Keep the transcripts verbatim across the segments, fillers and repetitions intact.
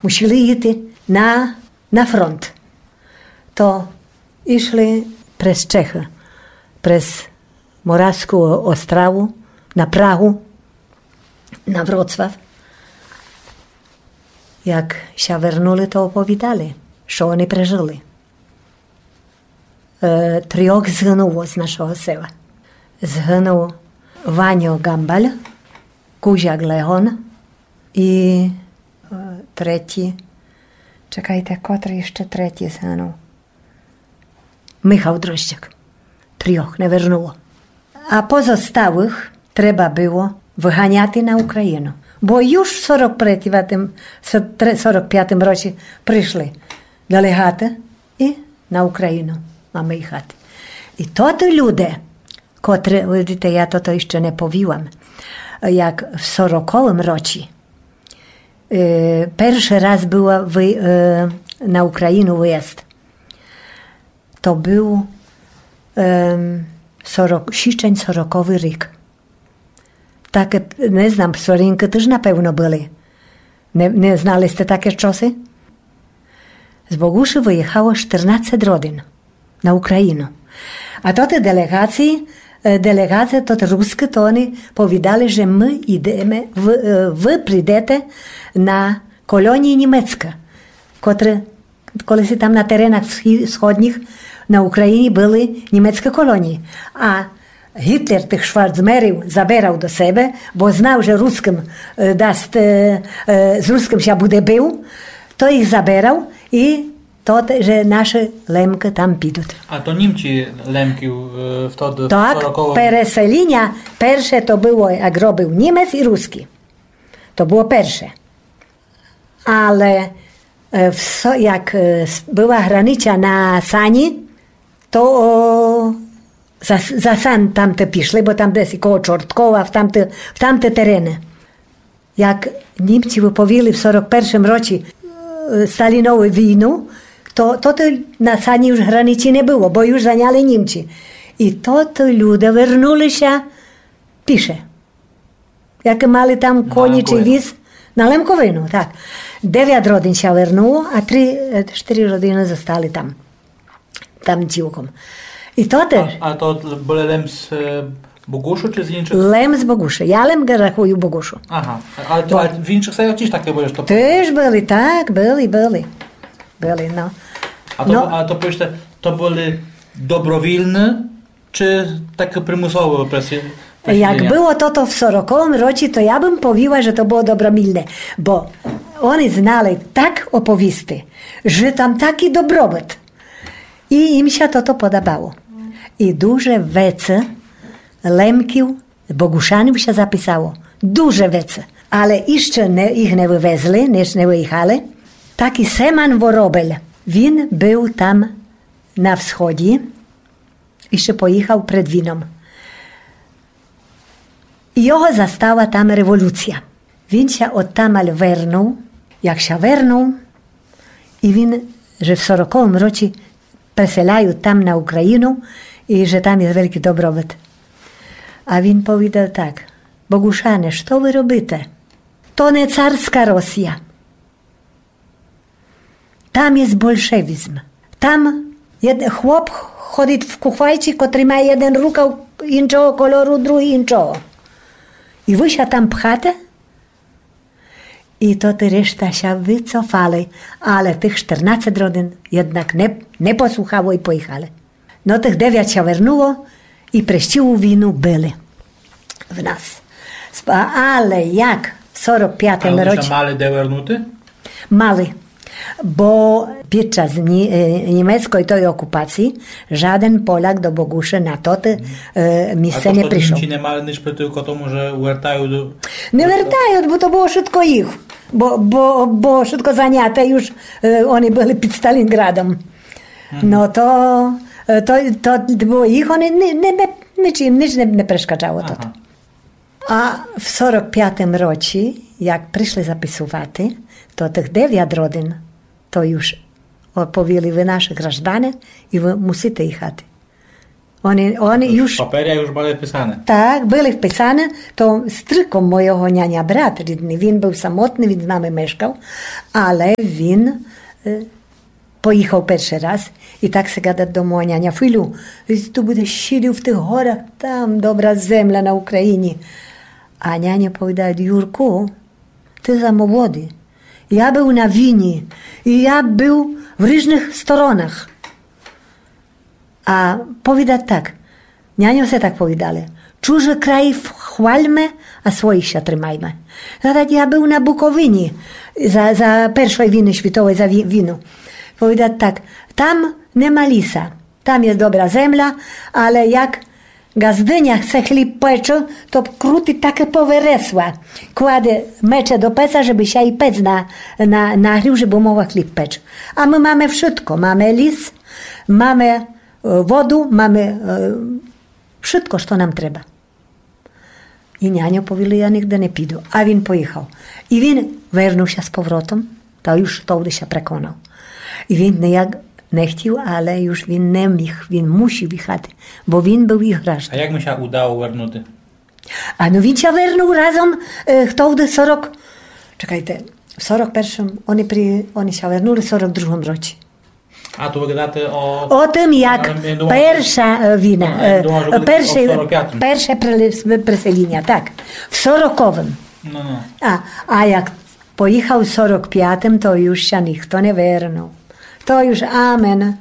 Мусили йти на, на фронт. То йшли през Чехы, през Моравскы Остраву, на Прагу, на Вроцлав. Як ся вернули, то оповідали, што они прежили. Е, трьох згынуло з нашого села. Згынул Ваньо Гамбаль, Кузяк Леон і, е, третій. Чекайте, котрый іщы третій згынул? Михал Дрождяк. Трьох не вернуло. А позосталых треба было выганяти на Україну. Бо юж в сорок пятым, сорок пятым році пришли делеґаты і на Україну маме їхати. І тоты люде, котры, видите, я тото іщы не повіла, як в сороковым році, е, першый раз было вы-, е, на Україну выязд. То был, ем, сорок, січень сороковый рік. Таке, не знам, Соринкы тыж напевно были. Не, не знали сте таке штоси? З Богушы выїхало штырнадцет родин на Україну. А тоты делеґації, е, делеґаты, тоты рускы, то они повідали, же мы йдеме, вы, е, вы прийдете на колонії німецкы, котры колиси там на теренах всхі-, всходніх на Україні были німецкы колонії. А Гітлер тых шварцмерів заберал до себе, бо знал, же рускым, е, даст, е, е, з рускым ся буде бив, то їх заберал і то, те-, же нашы Лемкы там підут. А то німці Лемкы, е, в тот, в сороковым? Так, переселіня перше то было, як робил німец і рускы. То было перше. Але, е, всьо, як, е, с-, была границя на Сані, то, о, за, за Сан тамты пішли, бо там десь коло Чорткова, в тамты, в тамты терены. Як німці выповіли в сорок першым році, е, Сталінову війну, то, то, то на Сані юж границі не было, бо юж заняли німці. І то, то люде вернули ся піше. Як мали там коні чи віз? На Лемковину, так. Девят родин ся вернуло, а три, е, штыри родины зостали там. Там цілком. І то теж. А, а то были лем з, е, Богушы чи з іншых? Лем з Богушы. Я лем рахую Богушу. Ага. А, а то, а в іншых селах тіж таке было, што... Теж были, так, были, были. Были, но. А то, но, а то, повіджте, то были добровільны чи таке примусове прес-, як преселіня? Было тото в сороковым році, то я бым повіла, же то было добровільне, бо они знали так оповісти, же там такій добробыт. І їм ся тото подабало. І дуже веце Лемків, Богушанів ся записало. Дуже веце. Але іщы не, їх не вывезли, не, не выїхали. Такій Семан Воробель, він был там на всході, іщы поїхал пред війном. І його застала там революція. Він ся одтамаль вернул, як ся вернул, і він, же в сороковым році преселяют там на Україну, і же там єст великій добробыт. А він повідал так: Богушане, што вы робите? То не царска Росія. Там єст большевізм. Там єд-, хлоп ходит в кухвайці, котрий має єден рукав іншого кольору, другий іншого. І вы ся там пхате? І тоты решта ся выцофали, але тых штырнадцет родин єднак не, не послухало і поїхали. Но, тых девят ся вернуло і през цілу війну были в нас. Сп-, але як в сорок пятым році... А они ся мали де вернути? Мали. Бо під час ні-, е, німецкой той окупації жаден Поляк до Богушы на тоты, е, місце не пришол. А то, што німці не мали ніч проти тому, же вертают до... Не вертают, бо то было шытко їх. Бо, бо, бо шытко заняте юж, е, они были під Сталінградом. Но то, е, то, то было їх, они ни-, ни-, ни-, ніч їм, ніч не, не перешкаджало тото. А в сорок пятым році, як пришли записувати, то тых девят родин, то юж оповіли: вы наші граждане і вы мусите їхати. Они, они юж... Паперя юж были вписаны. Так, были вписаны. То з стрыком мойого няня брат рідный, він быв самотный, він з нами мешкав, але він, е, поіхав першый раз і так ся гадат до мого няня: Филю, ты будеш сидів в тых горах, там добра земля на Україні. А няня повідат: Юрку, ты за молодый. Я быв на війні, і я быв в ріжных сторонах. А повідат так, няньо ся так повідали: чужы край хвальме, а своїх ся тримайме. Гадат, я быв на Буковині за, за першой війны світовой, за ві-, війну. Повідат так, там нема ліса, там є добра земля, але як ґаздыня ся хліб пече, то крутит таке повересла, кладе мече до пеца, жебы ся і пец на-, на-, нагрів, жебы могла хліб печь. А мы маме вшытко, маме ліс, маме, е, воду, маме, е, вшытко, што нам треба. І няньо повіли: я нигде не піду. А він поіхав. І він вернув ся з повротом, та юж товды ся преконав. І він нияк не хтів, але юж він не міг, він мусів іхати, бо він быв їх гражданин. А як му ся удало вернути? А но він ся вернув разом, е, хтовды сорок, чекайте, в сорок першым, они при-, они ся вернули в сорок другым році. А то вы гадате о... О тым, як перша, е, війна, е, перше, перше преле-, преселіня, так, в сороковым. Но, но. А, а як поіхав в сорок пятым, то юж ся нихто не вернув. То юж амен.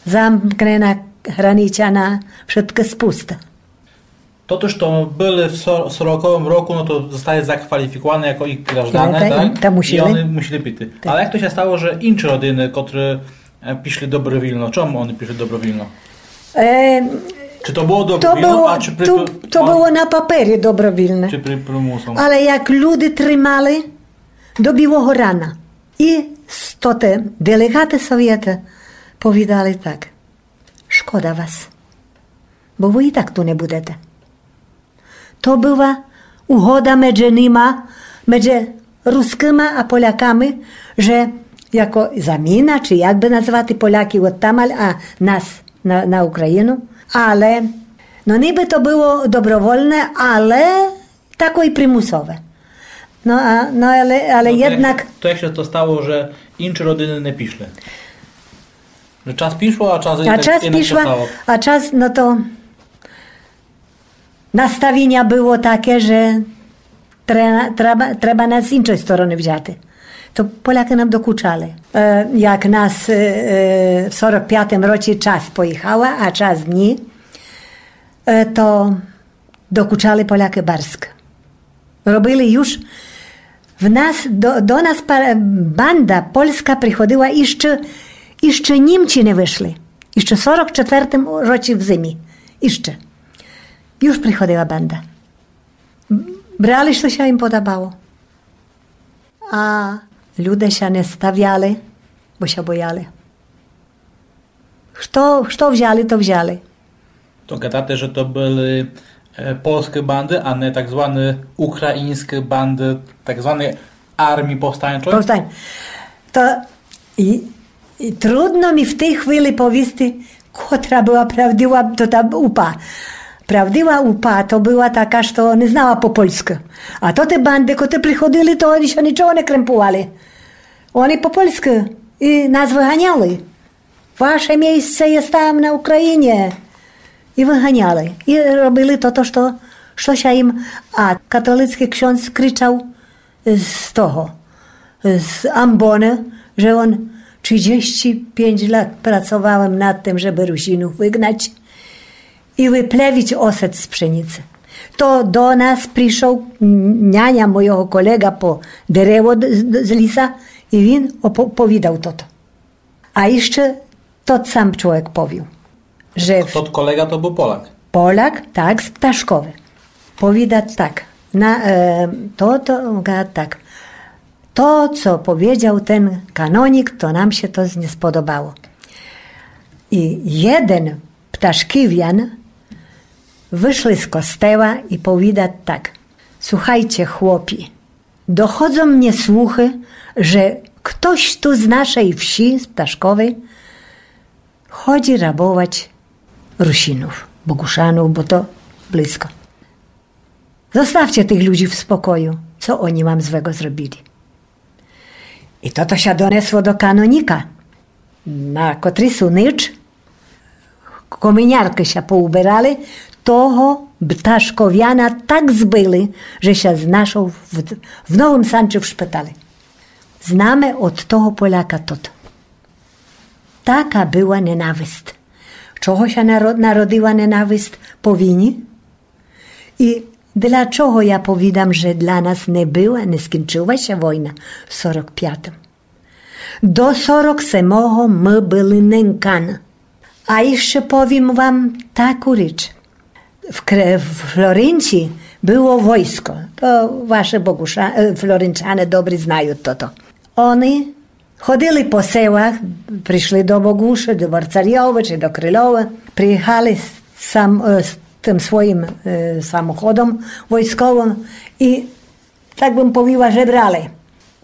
Замкнена границя на вшыткы спусты. То, то, што были в со-, сороковым року, но то зостали закваліфікуваны яко їх гражданин, так? Та мусіли. І они мусіли піти. Так. Але як то ся стало, же інші родины, котры, е, пішли добровільно, чом они пішли добровільно? Е, чы то было добровільно, а чы при... То было на папері добровільне. Чы при-, примусом? Але як люди тримали до білого рана. І стоты делеґаты совєта повідали так: Шкода вас, бо вы і так ту не будете. То была угода меджи нима, меджи рускыма а поляками, же яко заміна, чы як бы назвати, поляки одтамаль, а нас на, на Україну. Але, но, нибы то было добровольне, але тако і примусове. Но, а, но, але, але єднак... То як ся то стало, же інші родины не пішли? Же час пішло, а час... А час пішло, а час, но то наставіня было таке, же тре-, треба, треба нас з іншой стороны взяти. То полякы нам докучали. Е, як нас, е, е, в сорок пятым році част поіхала, а част ні, е, то докучали полякы барзко. Робили юж в нас, до, до нас па-, банда польска приходила іщы, іщы Німці не вышли. Іщы в сорок четвертым році в зимі. Іщы. Юж приходила банда. Брали, што ся їм подабало. А люде ся не ставяли, бо ся бояли. Што, што взяли, то взяли. То гадате, же то были, е, польскы банды, а не так званы україньскы банды, так званой армії повстанчой? Повстань. То і, і трудно мі в тій хвили повісти, котра была правдива, то та УПА. Правдива УПА то была така, што не знала по польскы. А то ті банды, котры приходили, то они ся нічого не кремпували. Они по польскы і нас выганяли. Ваше місце є там, на Україні. І выганяли. І робили то, то, што, што ся їм. А католицкый ксьондз кричав з того, з амбоны, же он: тридцять пять лат працовал єм над тым, жебы Русинув выгнать і выплевіць осет з пшеніци. То до нас пришол няня мойого колеґы по дерево з, з ліса, і він опо-, повідал тото. А іщы тот сам чловек повіл, же... Тот колеґа то был Поляк? Поляк, так, з Пташковы. Повідат так, на, е, то, то, га-, так. То, co powiedział ten kanonik, to nam się to nie spodobało. I jeden Пташківян вышли з костела і повідат так: Słuchajcie, chłopi, dochodzą mnie słuchy, że ktoś tu z naszej wsi, z Ptaszkowej, chodzi rabować Русинув, Богушанув, бо то близко. Зоставте тых людзи в спокою, цо они вам звего зробили? И тото ся донесло до каноніка, на котрий су ніч коминяркы ся поуберали, того пташковяна так збили, же ся знайшов в, в Новым Санчы в шпитали. Знаме од того Поляка тото. Така была ненавист. Чого ся наро-, народила ненавист? По війні. И для чого я повідам, же для нас не была, не скінчыла ся война в сорок пятым? До сорок семого мы были ненькан. А іщы повім вам таку річ. В Кре-, в Флоринці было войско. То вашы Богуша-, е, флоринчане добрі знают тото. Они ходили по селах, пришли до Богуши, до Барцарьова чи до Крылова, приїхали сам-, е, з тым своїм, е, самоходом войсковым и, так бым повіла, жебрали.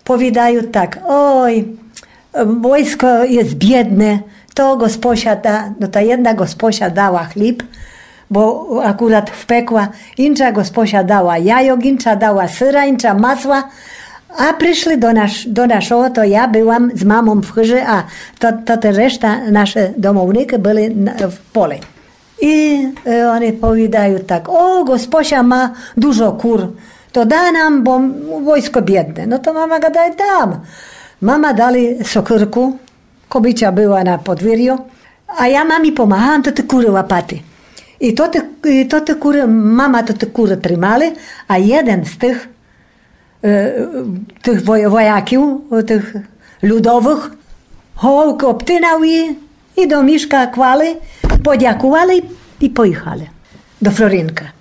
Повідают так: ой, е, войско єст бідне, то ґоспося да-, но, та єдна ґоспося дала хліб, бо акурат впекла, інча ґоспося дала яйок, інча дала сыра, інча масла, а пришли до наш-, до нашого, то я была з мамом в хыжи, а то, то та решта, нашы домовникы были на-, в полі. И, е, они повідают так: о, ґоспося ма дуже кур, то да нам, бо войско бідне. Но то мама гадає: дам. Мама дали сокырку, кобыця была на подвірю, а я мамі помагала тоты куры лапати. И тоты, и тоты куры, мама тоты куры тримали, а єден з тых, е, тых вой-, вояків, тых людовых, головкы обтинав и, и до мішка клали, подякували и поїхали до Флоринка.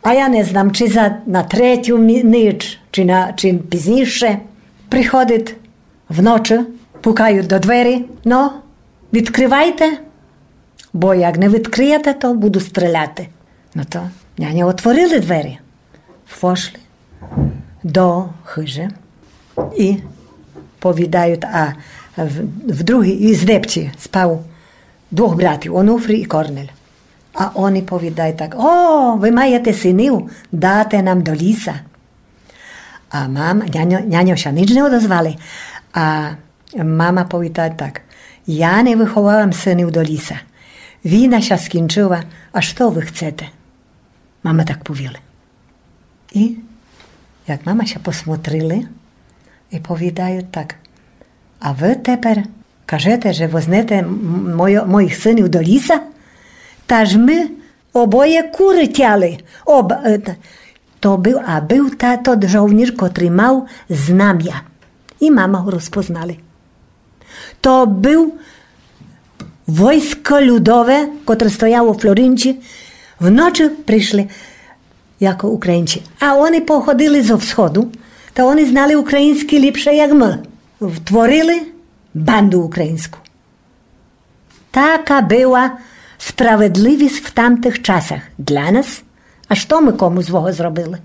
А я не знам, чи за, на третю мі-, ніч, чи на, чи пізніше, приходит вночы, пукают до двері: но, відкрывайте, бо як не відкрыєте, то буду стріляти. Но то няньо отворили двері, вошли до хыжи и повідают, а в, в другій, и з Дебці спав двох братів, Онуфрій и Корнель. А они повідают так: о, вы маєте синів, дате нам до ліса. А мам-, няньо, няньо ся ніч не одозвали. А мама повідає так: я не выховала синів до ліса. Війна ся скінчыла, а што вы хцете? Мама так повіла. И як мама ся посмотрили, и повідают так: а вы тепер кажете, же вознете м-, мойо-, моїх синів до ліса? Та ж мы обоє куры тяли. Об-, е, та-, то быв, а быв та-, тот жовнір, котрый мав знамя. И мама го розпознали. То быв войско людове, котре стояло у Флоринці. Вночы пришли, яко Українці. А они походили зо всходу, та они знали україньскій ліпше, як мы. Втворили банду україньску. Така была справедливіст в тамтых часах для нас. А што мы кому злого зробили?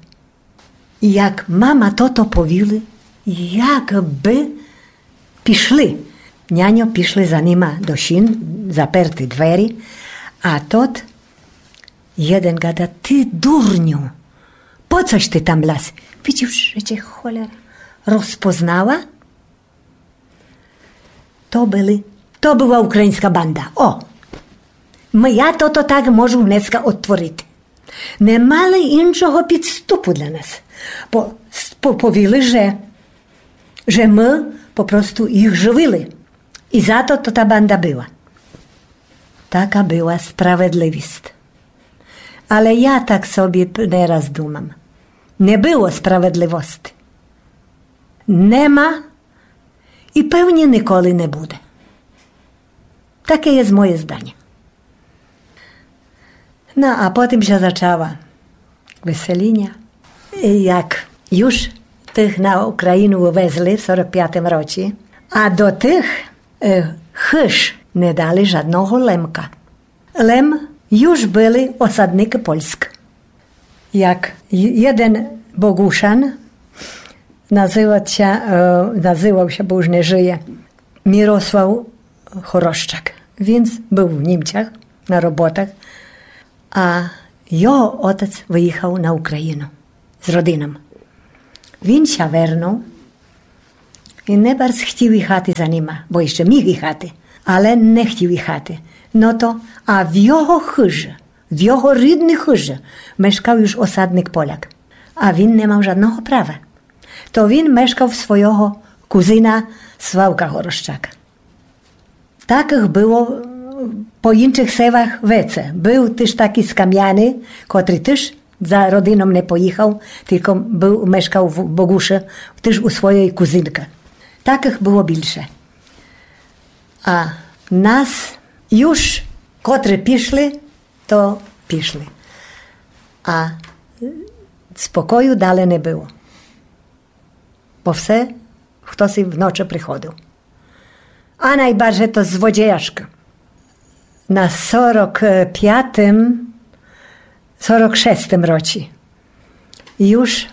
И як мама тото повіли, як бы пішли. Няньо пішли за нима до сін, заперти двері, а тот єден гада: ты дурню, по цош ты там лаз? Видиш, же тя холера розпознала? То были, то была україньска банда. О! М-, я тото так можу днеска одтворити. Не мали іншого підступу для нас. По-, с-, по-, повіли, же, же мы попросту їх живили. И зато то та банда была. Така была справедливіст. Але я так собі п-, не раз думам. Не было справедливости. Нема и певні николи не буде. Таке єст моє зданя. Но, а потім ся зачала выселіня. И як юж тых на Україну вывезли в сорок пятым році, а до тых, е, хыж не дали жадного лемка. Лем юж были осадникы Польск. Як є-, єден Богушан, называт ся, е, называв ся, бо уж не жыє, Мирослав Хорощак. Він з-, быв в Німцях. на роботах, а його отець выїхав на Україну з родином. Він ся вернув і не барз хтів їхати за нима, бо іщы міг їхати, але не хтів їхати. Но то, а в його хыжы, в його рідній хыжы мешкав юж осадник Поляк, а він не мав жадного права. То він мешкав в свого кузина Славка Горощака. Такых было, е, по іншых селах веце. Был тыж такій з Камяни, котрий тыж за родином не поїхав, тілько был, мешкав в Богушы, тыж у своєй кузинкы. Такых было більше. А нас юж, котры пішли, то пішли. А спокою дале не было. Бо все хтоси в ночы приходив. А найбарже то злодєяшкы. На сорок пятым, сорок шестым році. Юж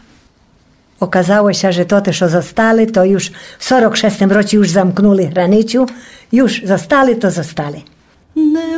оказало ся, же тоты, што зостали, то юж в сорок шестым році юж замкнули границю, юж зостали, то зостали.